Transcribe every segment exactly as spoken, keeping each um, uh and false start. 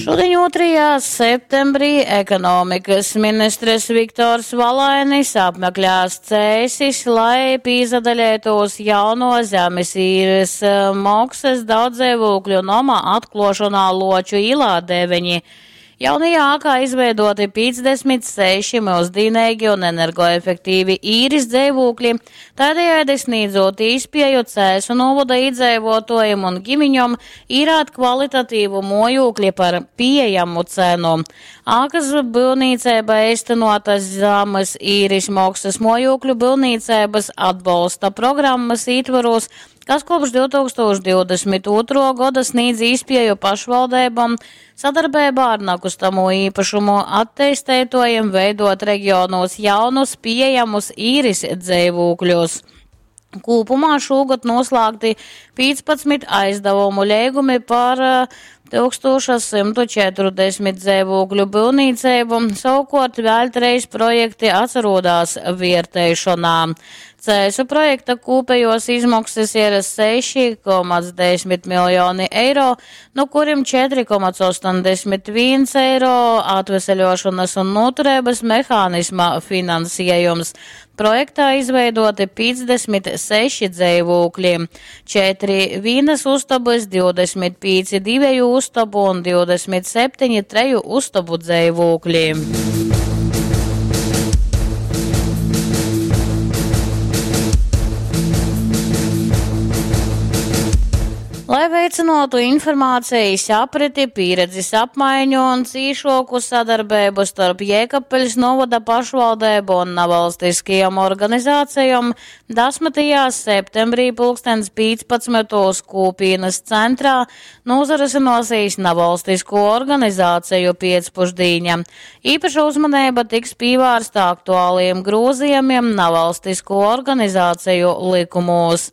Šudiņ ūtrajā septembrī ekonomikas ministrs Viktors Valainis apmeklēs Cēsis, lai pīsadaleitūs jauno zemes īres moksas daudzdzeivūkļu noma atkluošonā Luoču īlā deveņi. Jaunajā ēkā izveidoti piecdesmit seši mūsdienīgi un energoefektīvi īres dzīvokļi, tādējādi sniedzot īspēju Cēsu novada iedzīvotājiem un ģimiņom īrāt kvalitatīvu mojūkli par pieejamu cenu. Ēkas būvniecība īstenota zemes īres maksas mojūkļu būvniecības atbalsta programmas ietvaros, kas kopš divtūkstoš divdesmit otro gada sniedz īspēju pašvaldībām sadarbībā ar nekustamo īpašumu attīstītājiem veidot reģionos jaunus pieejamus īres dzīvokļus. Kopumā šogad noslēgti piecpadsmit aizdevumu līgumi par tūkstoš simtu četrdesmit dzīvokļu būvniecību, savukārt vēl trīs projekti atrodās vērtēšanā. Cēsu projekta kopējos izmaksas ir seši komats desmit miljoni eiro, no kuriem četri komats astoņdesmit viens eiro atveseļošanas un noturības mehānisma finansējums. Projektā izveidoti piecdesmit seši dzīvokļi, četri vienas ustabas, divdesmit pieci divēju ustabu un divdesmit septiņi treju ustabu dzīvokļi. Lai veicinātu informācijas apriti, pieredzes apmaiņu un cīšoku sadarbību starp Jēkabpiļs novada pašvaldību un nevalstiskajām organizācijām, desmitajā septembrī pulkstens piecpadsmitos Kūpīnas centrā nozarisināsies nevalstisko organizāciju piecpušdīņa. Īpaša uzmanība tiks pievērsta aktuāliem grozījumiem nevalstisko organizāciju likumos.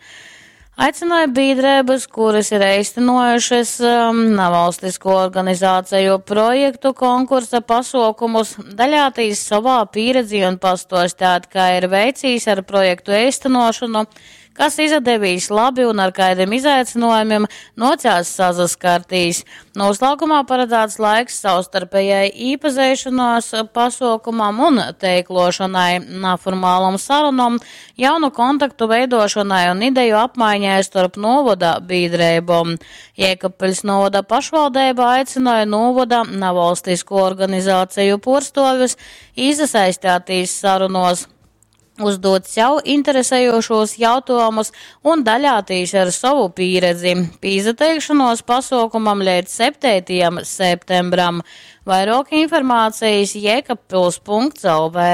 Aicināja biedrības, kuras ir īstenojušas, um, nevalstisko organizāciju projektu konkursa pasaukumus, daļātīs savā pieredzi un pastostāt, kā ir veicīs ar projektu īstenošanu, kas izdevīs labi un ar kādiem izaicinājumiem nocās sazaskartīs. Noslēgumā paredzēts laiks savstarpējai īpazēšanās pasaukumam un teiklošanai, neformālam sarunam, jaunu kontaktu veidošanai un ideju apmaiņai starp novada biedrībām. Jēkabpiļs novada pašvaldība aicināja novada nevalstisko organizāciju porstovis iesaistīties sarunos, uzdot sev interesējošos jautājumus un daļātīs ar savu pieredzi. Pīzateikšanos pasaukumam līdz septītajam septembram. Vairāk informācijas jēkabpils punkts L V.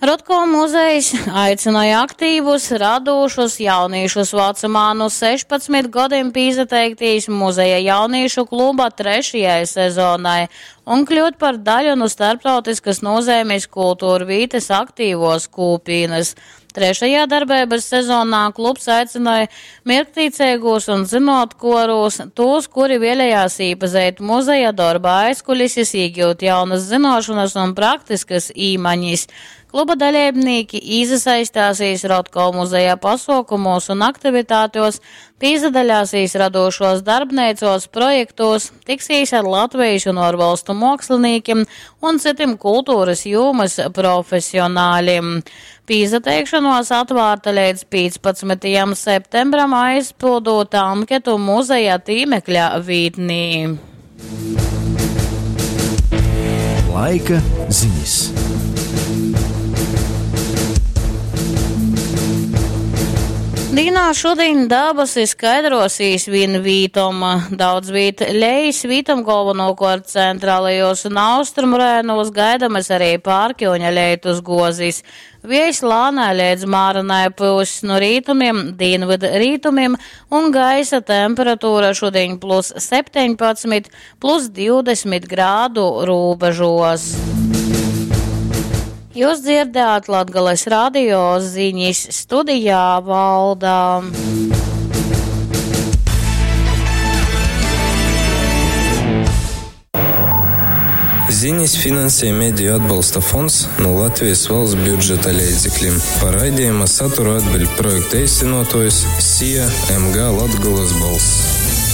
Rotko muzejs aicināja aktīvus, radošus jauniešus vecumā no sešpadsmit gadiem pīzateiktīs muzeja jauniešu kluba trešajai sezonai un kļūt par daļu no starptautiskas nozīmes kultūra vītes aktīvos kūpīnas. Trešajā darbības sezonā klubs aicināja mirktīcīgos un zinotkorus, tos, kuri vēlējās īpazīt muzeja darba aizkulises, iegūt jaunas zināšanas un praktiskas īmaņas. Kluba dalībnieki iesaistāsies Rotko muzeja pasaukumos un aktivitātos, piedalāsies radošos darbnīcos, projektos, tiksīs ar Latvijas un ārvalstu māksliniekiem un citiem kultūras jomas profesionāļiem. Pīzateikšanos atvērta līdz piecpadsmitajam septembram aizpildot anketu muzeja tīmekļa vītnī. Laika ziņas. Dīnā šodien dabas skaidrosīs vien vītom. Daudz vīt lejas vītom galvenokārt centrālajos un austrumu rainos gaidamas arī pārkjoņa leitus gozis. Viejs lānē līdz māranai pūs no rītumiem, dienvidu rītumiem un gaisa temperatūra šodien plus septiņpadsmit, plus divdesmit grādu robežos. Jūs dzirdējāt Latgales radio ziņas studijā Valda. Zinis finansej Mediju atbalsta fonds nu Latvejis valsts budžeta leidzeklim. Par raidejuma saturu atbiļd projekta eistynuotuojs SIA M G Latgolas balss.